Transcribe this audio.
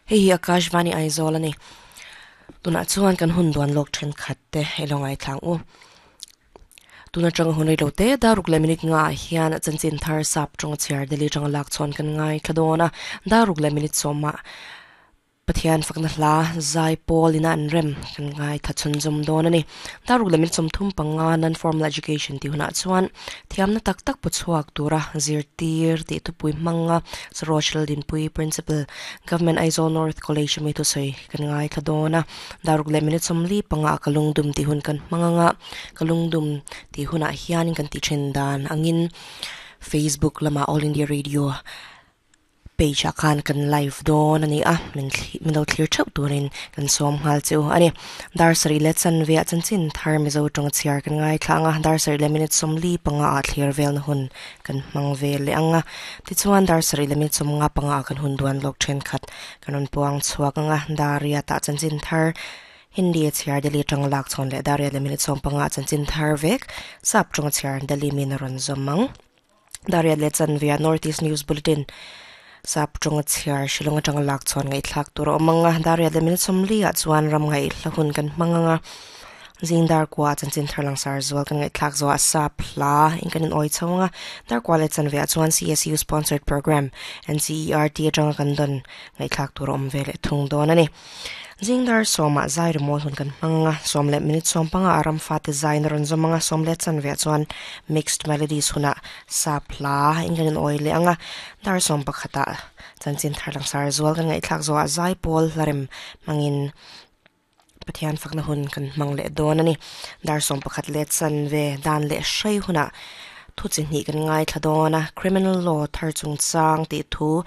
Hei hi Akashvani Aizawl a ni. Tunah chuan kan hun duan lawk thenkhat te i lo ngaithlang u. Tun atanga hun reilo te daruk leh minute nga ah hian chanchin thar sap tawng chhiar Delhi atanga lak chhawn kan ngaithla dawn a, daruk leh minute sawmah Pathian fakna hla zai pawl ina an rem kan ngaithla chhunzawm dawn a ni. Daruk leh minute 35 Non-Formal Education tih hunah chuan thiamna tak tak pu chhuak tura zirtir tih thupui hmanga Saroj Laldinpui Principal Government Aizawl North College ami thusawi kan ngaithla dawn a, daruk leh minute 45 ah ka lungdum tih hun kan hmang anga ka lungdum tih hunah hianin kan tih then dan angin Facebook lamah All India Radio page ah khan kan live dawn a ni a, min thli min lo thlir theuh turin kan sawm nghal che u a ni. Dar sarih leh chanve ah chanchin thar Mizo tawng chhiar kan ngaithla ang a, dar sarih leh minute 45 ah thlir velna hun kan hmang ve leh ang a, tichuan dar sarih leh minute 55 ah kan hun duan lawk thenkhat kan rawn puang chhuak ang a, dar riat ah chanchin thar Hindi a chhiar Delhi atanga lak chhawn leh dar riat leh minute 15 ah chanchin thar vek sap tawng a chhiar Delhi min a rawn zawm ang. Dar riat leh chanve ah North East News Bulletin sap tawng a chhiar Shillong atanga lak chhawn ngaihthlak tur a awm ang a, dar riat leh minute 40 ah chuan ram ngaihla hun kan hmang ang a. Zing dar kua chanchin thar langsar zual kan ngaihthlak zawh ah sap hla in kan in awi chho ang a, dar kua leh chanve ah chuan CSU sponsored programme NCERT atanga kan dawn ngaihthlak tur a awm ve leh thung dawn a ni. Zing dar sawmah zai rimawi hun kan hmang ang a, sawm leh minute 15 ah ram fate zaiin a rawn zawm ang a, sawm leh chanve ah chuan mixed melodies hunah sap hla in kan in awi leh ang a, dar 11 ah chanchin thar langsar zual kan ngaihthlak zawh ah zai pawl hla rem hmangin Pathian fakna hun kan hmang leh dawn a ni. Dar 11 leh chanve dan leh hrei hunah thu chi hnih kan ngaithla dawn a, Criminal Law thar chungchang tih thu.